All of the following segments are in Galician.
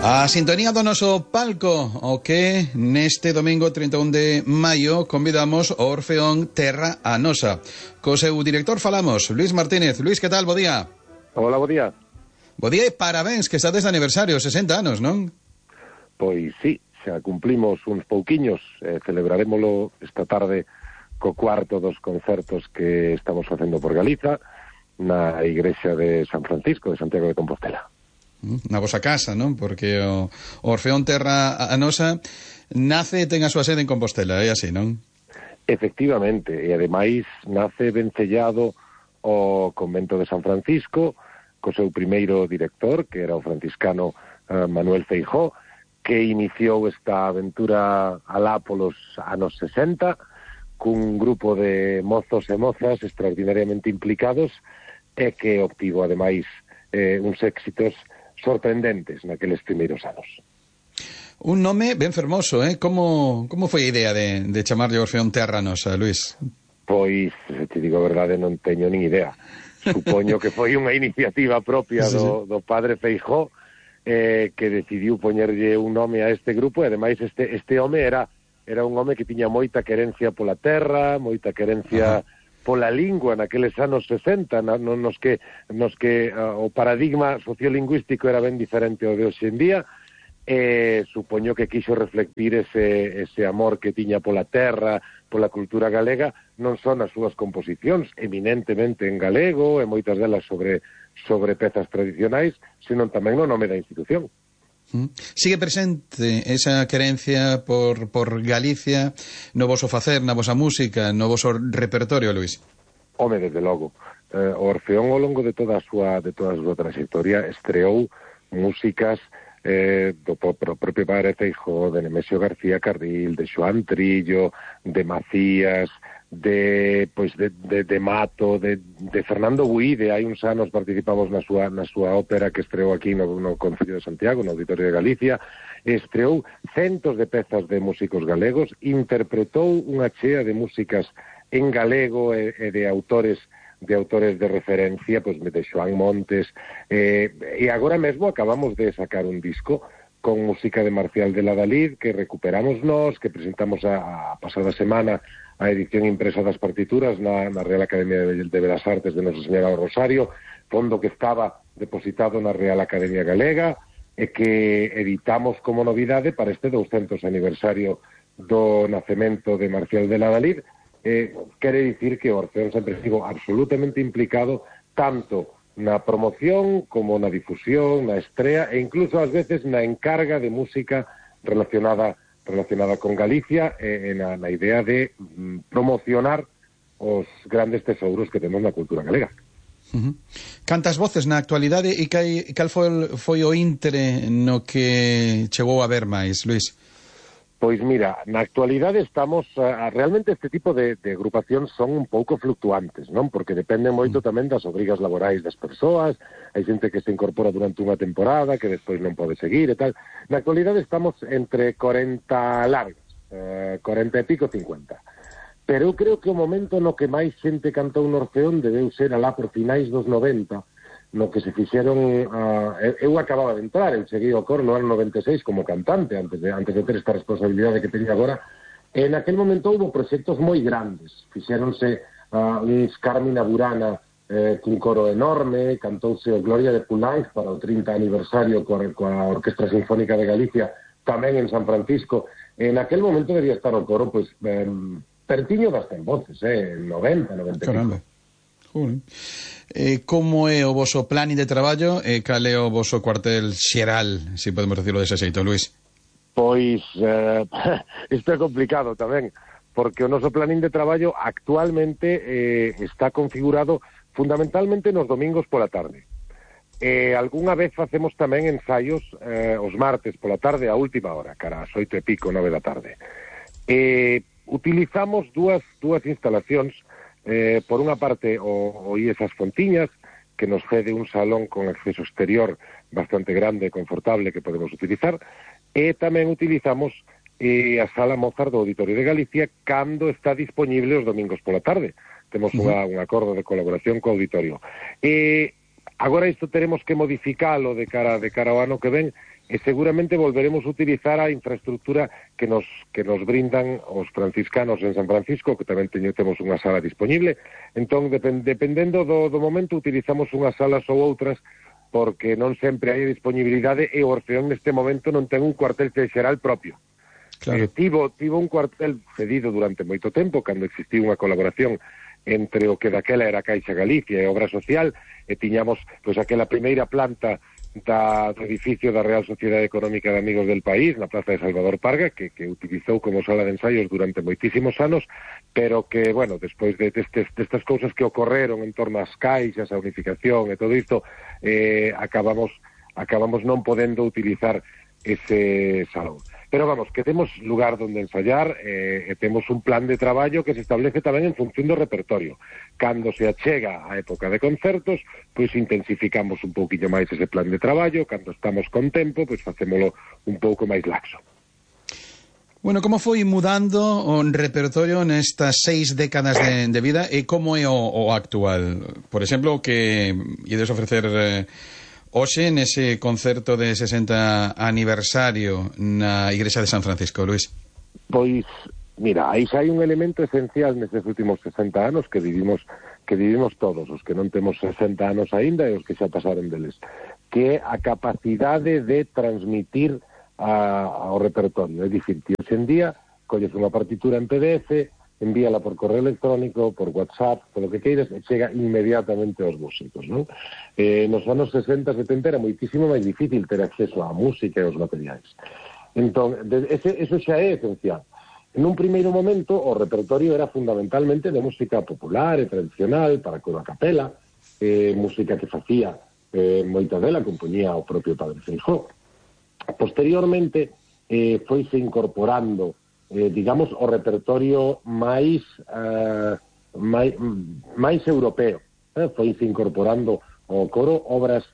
A sintonía do noso palco, o que neste domingo 31 de maio convidamos ao Orfeón Terra a Nosa. Co seu director falamos, Luis Martínez. Luis, que tal? Bo día. Hola, bo día. Bo día e parabéns, que estades de aniversario, 60 anos, non? Pois sí, xa cumplimos uns pouquiños, celebraremoslo esta tarde co cuarto dos concertos que estamos facendo por Galiza na igrexa de San Francisco de Santiago de Compostela. Na vosa casa, non? Porque o Orfeón Terra a Nosa nace e ten a súa sede en Compostela, é así, non? Efectivamente, e ademais nace vencellado ao convento de San Francisco co seu primeiro director, que era o franciscano Manuel Feijó, que iniciou esta aventura alá polos anos 60 cun grupo de mozos e mozas extraordinariamente implicados e que obtivo ademais uns éxitos sorprendentes naqueles primeiros anos. Un nome ben fermoso, Como foi a idea de chamarlle Orfeón Terra Nosa, Luis? Pois, se te digo a verdade, non teño nin idea. Supoño que foi unha iniciativa propia do padre Feijó que decidiu poñerlle un nome a este grupo, e ademais este home era un home que tiña moita querencia pola terra, moita querencia pola lingua naqueles anos 60, nos que o paradigma sociolingüístico era ben diferente ao de hoxe en día, e supoño que quixo reflectir ese amor que tiña pola terra, pola cultura galega, non só nas súas composicións, eminentemente en galego, e moitas delas sobre pezas tradicionais, senón tamén no nome da institución. Sigue presente esa querencia por Galicia no voso facer, na vosa música, no voso repertorio, Luis? Home, desde logo. O Orfeón, ao longo de toda a súa trayectoria, estreou músicas do propio padre Feijó, de Nemesio García Carril, de Xoán Trillo, de Macías, de Mato, de Fernando Buide. Hai uns anos participamos na súa ópera que estreou aquí no Concello de Santiago, no Auditorio de Galicia. Estreou centos de pezas de músicos galegos, interpretou unha chea de músicas en galego e de autores de referencia, pois de Xoán Montes, e agora mesmo acabamos de sacar un disco con música de Marcial de la Dalid que recuperamos nós, que presentamos a pasada semana a edición impresa das partituras na Real Academia de Belas Artes de Nosa Señora do Rosario, fondo que estaba depositado na Real Academia Galega e que editamos como novidade para este 200 aniversario do nacemento de Marcial de la Dalid. Quere dicir que o Orfeón sempre estivo absolutamente implicado tanto na promoción como na difusión, na estrea e incluso ás veces na encarga de música relacionada con Galicia e na idea de promocionar os grandes tesouros que temos na cultura galega. Cantas voces na actualidade e cal foi o intre no que chegou a ver máis, Luis? Pois mira, na actualidade estamos... realmente este tipo de agrupacións son un pouco fluctuantes, non? Porque dependen moito tamén das obrigas laborais das persoas, hai xente que se incorpora durante unha temporada, que despois non pode seguir e tal. Na actualidade estamos entre 40 largas, 40 e pico, 50. Pero eu creo que o momento no que máis xente cantou no Orfeón debeu ser alá por finais dos 90, no que se fixeron... eu acababa de entrar, eu cheguei ao coro no ano 96 como cantante, antes de ter esta responsabilidade que teño agora, e naquel momento houve proxectos moi grandes. Fixéronse uns Carmina Burana cun coro enorme, cantouse o Gloria de Poulenc para o 30 aniversario coa Orquestra Sinfónica de Galicia, tamén en San Francisco. En aquel momento debía estar o coro, pois, pertiño das 100 voces, 90, 90 e pico. Como é o voso plan de traballo e cal é o voso cuartel xeral, se podemos decirlo dese xeito, Luis? Pois, isto é complicado tamén, porque o noso planín de traballo actualmente está configurado fundamentalmente nos domingos pola tarde. Algúnha vez facemos tamén ensaios os martes pola tarde a última hora, cara ás 8 e pico, 9 da tarde. Utilizamos dúas instalacións. Por unha parte, o IES As Fontiñas, que nos cede un salón con acceso exterior bastante grande e confortable que podemos utilizar, e tamén utilizamos a Sala Mozart do Auditorio de Galicia cando está disponible os domingos pola tarde. Temos un acordo de colaboración co auditorio. Agora isto teremos que modificalo de cara ao ano que ven, e seguramente volveremos a utilizar a infraestructura que nos brindan os franciscanos en San Francisco, que tamén temos unha sala disponible. Entón, dependendo do momento, utilizamos unhas salas ou outras, porque non sempre hai disponibilidade, e o Orfeón neste momento non ten un cuartel xeral propio. Claro. Tivo un cuartel cedido durante moito tempo, cando existiu unha colaboración entre o que daquela era Caixa Galicia e Obra Social, e tiñamos pois aquela primeira planta do edificio da Real Sociedade Económica de Amigos del País, na Plaza de Salvador Parga, que utilizou como sala de ensaios durante moitísimos anos, pero que, bueno, despois destas cousas que ocorreron en torno ás caixas, a unificación e todo isto, acabamos non podendo utilizar ese salón. Pero vamos, que temos lugar donde ensayar, e temos un plan de traballo que se establece tamén en función do repertorio. Cando se achega a época de concertos, pois intensificamos un pouquinho máis ese plan de traballo. Cando estamos con tempo, pois facémolo un pouco máis laxo. Bueno, como foi mudando o repertorio nestas 6 décadas de vida, e como é o actual? Por exemplo, que ides ofrecer hoxe nese concerto de 60 aniversario na Igrexa de San Francisco, Luis? Pois, mira, aí xa hai un elemento esencial nestes últimos 60 anos que vivimos todos, os que non temos 60 anos aínda e os que xa pasaron deles, que é a capacidade de transmitir ao repertorio. É dicir, que hoxe en día colles unha partitura en PDF, envíala por correo electrónico, por WhatsApp, polo que queiras, e chega inmediatamente aos músicos, non? Nos anos 60, 70 era moitísimo máis difícil ter acceso á música e aos materiais. Entón, eso xa é esencial. En un primeiro momento, o repertorio era fundamentalmente de música popular e tradicional, para coro a capela, música que facía moita dela, compoñía o propio Padre Feijóo. Posteriormente, foise incorporando digamos, o repertorio máis europeo. Foise incorporando ao coro obras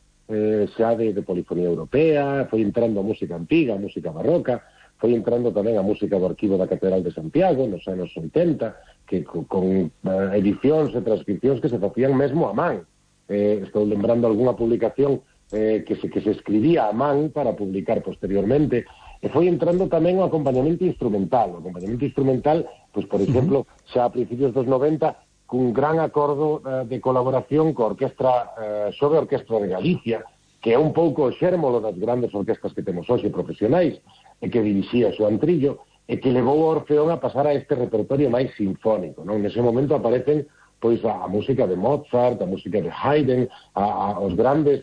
xa de polifonía europea, foi entrando a música antiga, a música barroca, foi entrando tamén a música do Arquivo da Catedral de Santiago nos anos 80, que con edicións e transcripcións que se facían mesmo a man. Estou lembrando algunha publicación que se escribía a man para publicar posteriormente. E foi entrando tamén o acompañamento instrumental. O acompañamento instrumental, pois, por exemplo, xa a principios dos 90, cun gran acordo de colaboración coa Orquestra Xove Orquestra de Galicia, que é un pouco o xérmolo das grandes orquestas que temos hoxe profesionais, e que dirixía Xoán Trillo, e que levou o Orfeón a pasar a este repertorio máis sinfónico, non? Nese momento aparecen pois a música de Mozart, a música de Haydn, os grandes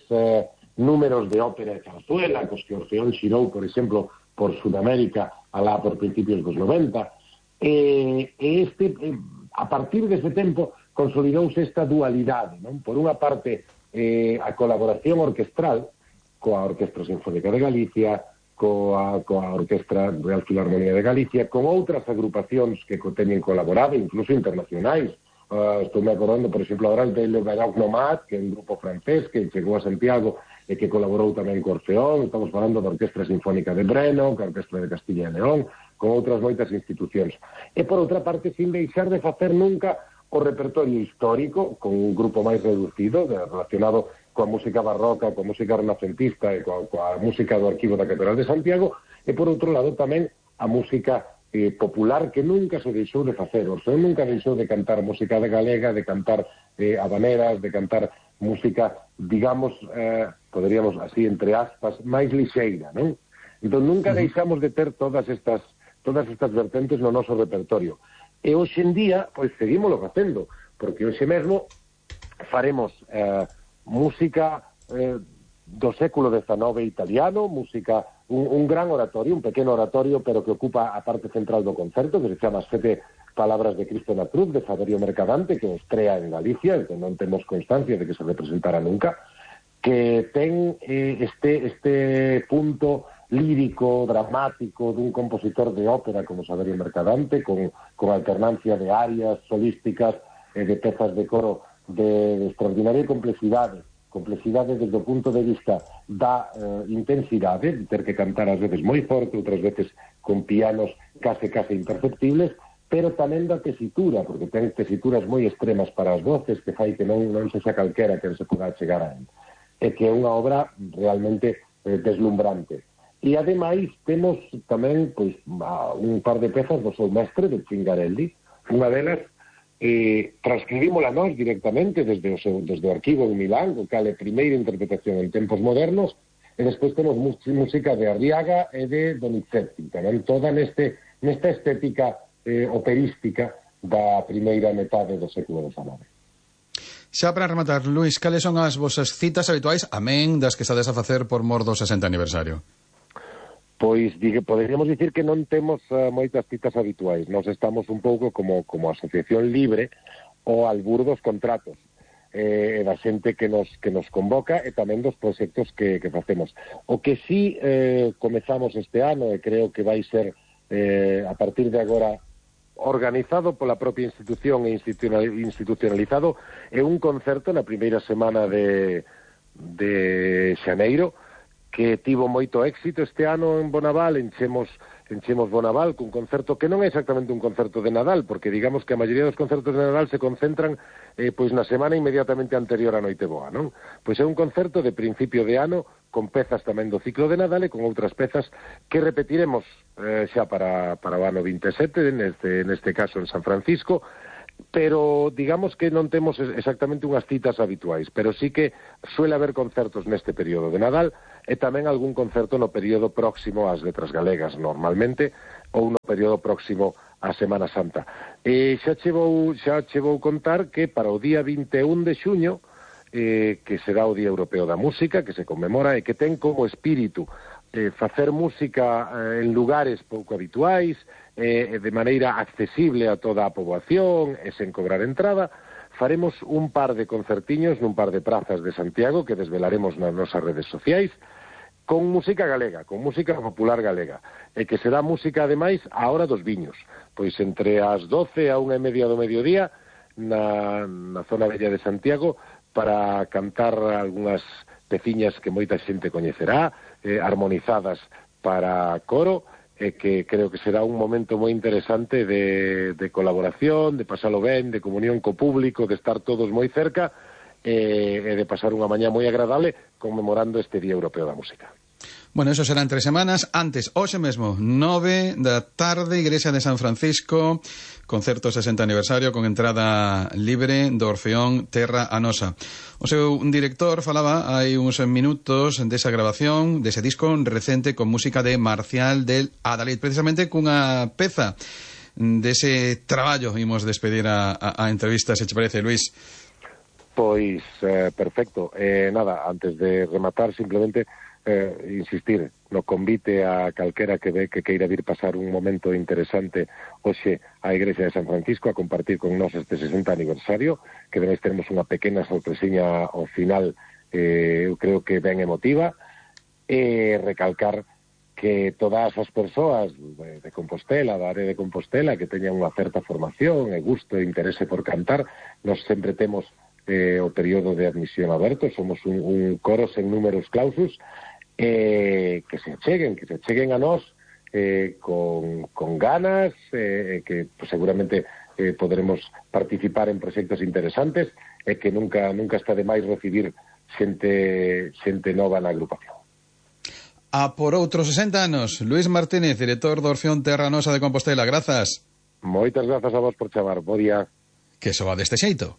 números de ópera e zarzuela, cos que Orfeón xirou, por exemplo, por Sudamérica, alá por principios dos 90, a partir dese tempo consolidouse esta dualidade, non? Por unha parte, a colaboración orquestral coa Orquestra Sinfónica de Galicia, coa Orquestra Real Filarmonía de Galicia, con outras agrupacións que teñen colaborado, incluso internacionais. Estou me acordando, por exemplo, agora de Le Baroque Nomad, que é un grupo francés que chegou a Santiago e que colaborou tamén co Orfeón. Estamos falando da Orquestra Sinfónica de Breno, ca Orquestra de Castilla e León, con outras moitas institucións. E, por outra parte, sin deixar de facer nunca o repertorio histórico, con un grupo máis reducido, relacionado coa música barroca, coa música renacentista e coa música do Arquivo da Catedral de Santiago, e, por outro lado, tamén a música popular, que nunca se deixou de facer. O Orfeón nunca deixou de cantar música de galega, de cantar habaneras, de cantar música, digamos, poderíamos así, entre aspas, máis lixeira, non? Entón, nunca deixamos de ter todas estas vertentes no noso repertorio. E hoxe en día, pois, seguímoslo facendo, porque hoxe mesmo faremos música do século XIX italiano, música, un gran oratorio, un pequeno oratorio, pero que ocupa a parte central do concerto, que se chama As Sete Palabras de Cristo na Cruz, de Saverio Mercadante, que estrea en Galicia, que non temos constancia de que se representara nunca, que ten este punto lírico, dramático, dun compositor de ópera como Saverio Mercadante, con alternancia de arias solísticas e de pezas de coro de extraordinaria complexidade desde o punto de vista da intensidade, de ter que cantar ás veces moi forte, outras veces con pianos case imperceptibles, pero tamén da tesitura, porque ten tesituras moi extremas para as voces, que fai que non se xa calquera que se poda chegar a él. e que é unha obra realmente deslumbrante. E ademais temos tamén pois un par de pezas do seu mestre, de Cingarelli. Unha delas transcribímola nós directamente desde o arquivo en Milán, o cal é primeira interpretación en tempos modernos, e despois temos música de Arriaga e de Donizetti, tamén toda nesta estética operística da primeira metade do século XIX. Xa para rematar, Luís, cales son as vosas citas habituais, amén das que estades a facer por mor do 60 aniversario? Pois poderíamos dicir que non temos moitas citas habituais. Nós estamos un pouco como asociación libre ao albur dos contratos e da xente que nos convoca e tamén dos proxectos que facemos. O que sí comezamos este ano, e creo que vai ser a partir de agora organizado pola propia institución e institucionalizado, é un concerto na primeira semana de xaneiro, que tivo moito éxito este ano en Bonaval. Enchemos Bonaval cun concerto que non é exactamente un concerto de Nadal, porque digamos que a maioría dos concertos de Nadal se concentran pois na semana inmediatamente anterior á Noiteboa, non? Pois é un concerto de principio de ano con pezas tamén do ciclo de Nadal e con outras pezas que repetiremos xa para o ano 27, neste caso en San Francisco, pero digamos que non temos exactamente unhas citas habituais, pero sí que suele haber concertos neste período de Nadal e tamén algún concerto no período próximo ás Letras Galegas, normalmente, ou no período próximo á Semana Santa. E xa che vou contar que para o día 21 de xuño, que será o Día Europeo da Música, que se conmemora e que ten como espírito facer música en lugares pouco habituais, de maneira accesible a toda a poboación e sen cobrar entrada, faremos un par de concertiños nun par de prazas de Santiago que desvelaremos nas nosas redes sociais, con música galega, con música popular galega, e que será música, ademais, á hora dos viños, pois entre as 12 a 1:30 do mediodía na zona bella de Santiago, para cantar algunhas peciñas que moita xente coñecerá, armonizadas para coro, e que creo que será un momento moi interesante de colaboración, de pasalo ben, de comunión co público, de estar todos moi cerca e de pasar unha mañá moi agradable conmemorando este Día Europeo da Música. Bueno, eso será en 3 semanas. Antes, hoxe mesmo, 9 da tarde, Igrexa de San Francisco, concerto 60 aniversario con entrada libre do Orfeón Terra a Nosa. O seu director falaba hai uns minutos desa grabación, dese disco recente con música de Marcial del Adalid, precisamente cunha peza dese traballo. Imos despedir a entrevista, se che parece, Luís. Pois, perfecto. Nada, antes de rematar, simplemente insistir no convite a calquera que queira vir pasar un momento interesante hoxe á Igrexa de San Francisco a compartir con nós este 60 aniversario, que ademais teremos unha pequena sorpresiña ao final, eu creo que ben emotiva, e recalcar que todas as persoas de Compostela, da área de Compostela, que teñan unha certa formación e gusto e interese por cantar, nós sempre temos o período de admisión aberto, somos un coro sen números clausus, que se cheguen a nós con ganas, que seguramente poderemos participar en proxectos interesantes, e que nunca está de máis recibir xente nova na agrupación. A por outros 60 anos, Luís Martínez, director do Orfeón Terra Nosa de Compostela, grazas. Moitas grazas a vos por chamar, bo día. Que soa deste xeito.